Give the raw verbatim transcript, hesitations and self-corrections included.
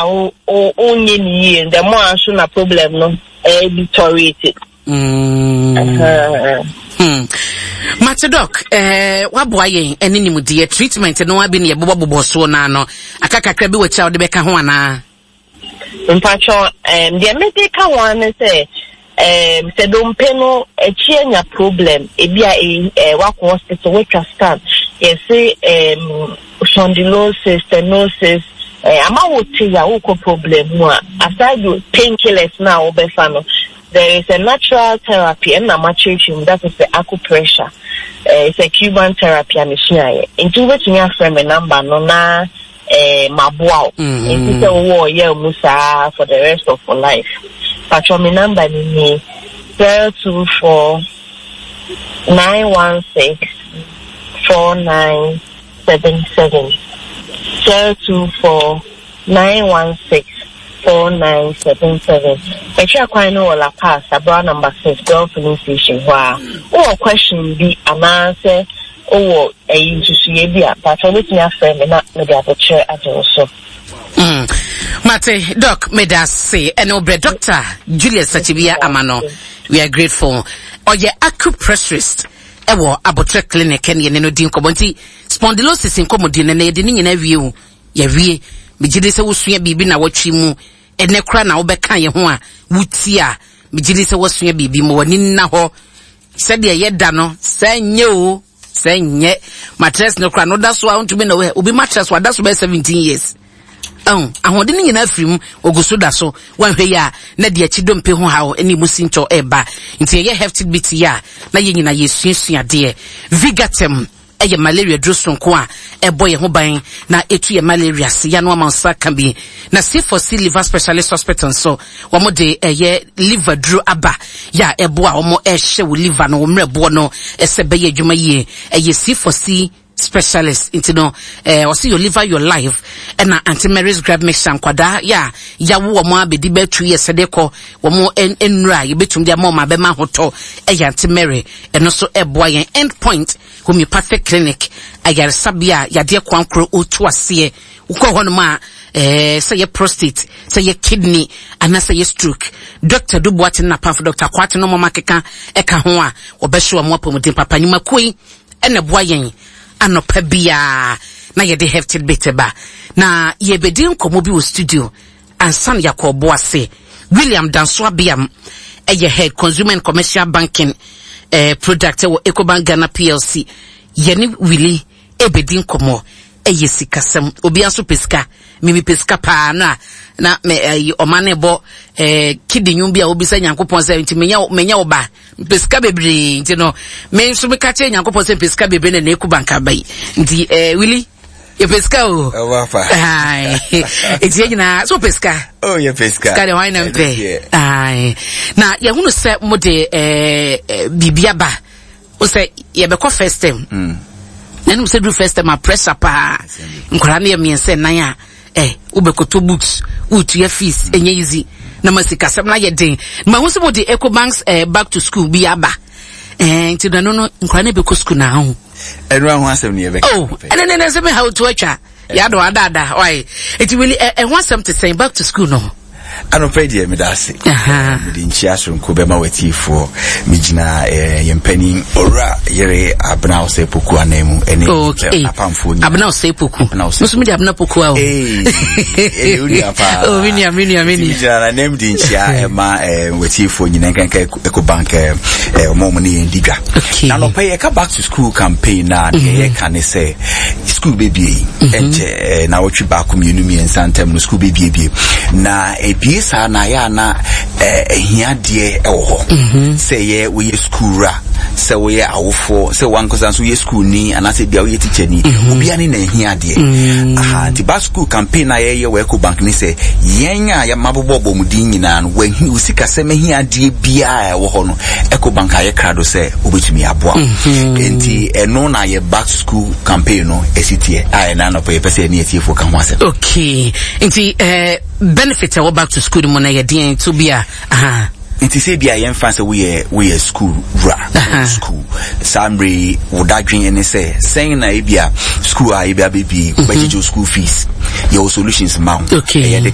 a wo wo wonyɛ ne yie, the more a nso na problem no ɛyɛ deteriorate. Mm. Uh-huh. Hmm. Mate Doc, eh, waboa yɛn ɛne nimdeɛ. Treatment no abi ne yɛbobɔbobɔ soɔ no ano. Aka kakra bi wɔ akyi a wode bɛka ho anaa? Mpatwɔ, um, deɛ mede ka ho ara ne sɛ um, sɛ dompe no akyi anya problem ebi a eh, eh, wakɔ hospital, watwa scan, yɛse um, spondylosis, stenosis, eh, ama wo te ya wokɔ problem mu a, aside the painkillers na a wobɛfa no, there is a natural therapy ɛnna makyerɛkyerɛ mu, that is the acupressure. eh, it's a Cuban therapy a mesuaeɛ, nti wobɛtumi afrɛ me number no na eh, maboa wo. Mm. Nti sɛ wowɔ ɔyɛ mu saa for the rest of your life. Patwɔ, me number no nie: zero two four nine one six four nine seven seven, zero two four nine one six four nine seven seven. Ɛtwa kwan no wɔ Lapaz, Abra number six, Goil filling station hɔ a. Wowɔ question bi anaasɛ wowɔ ɛyi nsusuiɛ bi a, patwɔ, wobɛtumi afrɛ me na mede abɔkyerɛ agye wo so. Mm. Mate Doc, meda ase ɛne wobrɛ. Doctor Julius Sakyibia ama no, we are grateful. Ɔyɛ acupressurist ɛwɔ Abotrɛ Clinic ɛne yɛne no di nkɔmmɔ. Nti spondylosis nkɔmmɔdi no na yɛde ne nyinaa wie o, yɛwie. Megye di sɛ wosua biribi na wɔtwe mu ɛnɛ kora na wobɛka yɛn ho a wotie a, megye di sɛ woasua biribi ma w'ani nna hɔ sɛdeɛ yɛda no sɛ nyɛ o, sɛ nyɛ mattress no kora no da so a wontumi na obi mattress wada so bɛyɛ seventeen years ɛho ahoɔden no nyinaa firi mu, ogu so da so. Wanhwɛ yi a na deɛ akyi dompe ho haw ne mu sintɔ ɛreba. Nti ɛyɛ hefty bit yi a na yɛn nyinaa yɛsuasua adeɛ. Vigatem ɛyɛ malaria duro sonko a ɛbɔ yɛn ho ban na etu yɛ malaria se yano ama nsa ka bi. Na C four C Liver Specialist Hospital nso, wɔn de ɛyɛ liver duro aba yɛ a ɛboa wɔn ɛhyɛ wɔ liver no, wɔn mmerɛboɔ no ɛsɛ bɛyɛ adwuma yie. Ɛyɛ C four C Specialist nti no ɛɛ ɔsi "Your liver, your life". Ɛna Aunty Mary's Gripe Mixture, nkwadaa yɛ a yawo wɔn abɛdi bɛɛ two years de kɔ, wɔn nnura a yɛbɛtum de ama wɔn abɛma ahotɔ ɛyɛ Aunty Mary, ɛno nso ɛboa yɛn. End Point Homeopathic Clinic, ayaresabea a yadeɛ kwankoro otu aseɛ, wokɔ hɔnom a ɛɛ sɛ yɛ prostate, sɛ yɛ kidney anaasɛ yɛ stroke, Doctor Dubuate ne napamfo Doctor Kwate no mɔma keka ɛka ho a wɔbɛhyɛ wɔn apɔmuden papa. Nnwumakuo yi ɛna ɛboa yɛn anɔpa biara na yɛde hefty bit ba. Na yɛbɛdi nkɔmmɔ bi wɔ studio ansa na yɛakɔ ɔbo ase. William Danso Abiam ɛyɛ head, consumer and commercial banking eh, product ɛwɔ Ecobank Ghana P L C. Yɛne Willie ɛbɛdi nkɔmmɔ. Ɛyɛ sikasɛm, obiara nso pɛ sika, mimi pɛ sika paa no a na me ɛyi ɔma ne bɔ ɛɛ kidi nwom bi a obisa Nyankopɔn sɛ nti menya menya wo ba, mpɛ sika bebree. Nti no me nso meka kyerɛ Nyankopɔn sɛ mpɛ sika bebree na na Ecobank aba yi. Nti ɛɛ Willie, yɛpɛ sika o. Ɛwɔ afa. Aye. Nti yɛn nyinaa so pɛ sika. Oh, yɛpɛ sika. Sika deɛ, wɔn na mpɛ. Aye. Na yɛhunu sɛ mo de ɛɛ ɛɛ biribi aba o sɛ yɛbɛkɔ first term. Mm. Na ɛnum sɛ duru first term a, pressure paa. Nkwadaa no yɛ mmiɛnsa nnan a ɛ wobɛkoto books, wotua fees, ɛnyɛ easy na ma sikasɛm no ayɛ den. Ma ho sɛ mo de Ecobank's eh, back to school bi aba ɛɛ nti na no no nkwadaa no bɛkɔ school na aho. Ɛnu aho asɛm ni yɛbɛka. Oh, ɛnɛ nɛ nɛ sɛ mi ha otu atwa yàdò adaada ɔyɛ. Eti wili ɛ ɛho asɛm te sɛn, back to school no? Anɔpɛ deɛ, meda ase. Aha. Mede nkyia soronko bɛma w'atiefoɔ. Megyina eh, yɛn panin Owura Yere Abena Osei Poku anan mu ɛne okay apamfoɔ nyinaa. Abena Osei Poku. Abena Osei. Nso mi de Abena Poku a o. Ee, ɛyɛ wo nua paa. Oh, mi nua, mi nua, mi Nti nua. megyina n'anim de nkyia ɛma eh, w'atiefoɔ nyinaa, nkanka Ecobank, eh, eh, ɔma ɔmo ne yɛn di dwa. Okay. Na anɔpɛ yɛka back to school campaign na deɛ yɛka ne sɛ school bɛbie yi ɛnkyɛ, eh, na wɔtwe baako, mmienu, mmiɛnsa ntam no school bɛbiebie. Na ebie saa na ayɛ ana eh, ahiadeɛ ɛwɔ hɔ sɛ yɛ woyɛ school wura, sɛ woyɛ awofoɔ, sɛ wankasa nso woyɛ school ni anaasɛ bia woyɛ teacher ni, obiara ne na ahiadeɛ aha. Nti back to school campaign a yɛyɛ wɔ Ecobank ne sɛ yɛn a yɛmabobɔ bɔmuden nyinaa no, wahi wo sikasɛm ahiadeɛ biara a ɛwɔ hɔ no, Ecobank ayɛ krado sɛ wobɛtumi aboa wo. Nti ɛno na yɛ back to school campaign no ɛsi teɛ a ɛna anɔpɛ yɛpɛ sɛ yɛne atiefoɔ ka ho asɛm. Okay, nti eh, benefit a ɛwɔ back to school no mu no yɛ deɛn to bi a aha? Nti sɛ bia yɛmfa sɛ woyɛ woyɛ school wura, Aha. school saa mmerɛ yi, wo dadwen ne sɛ sɛn na ebia school a ebi abɛbie wobɛgyegye wo school fees, yɛwɔ solutions ma wo. Okay. Ɛyɛ digital.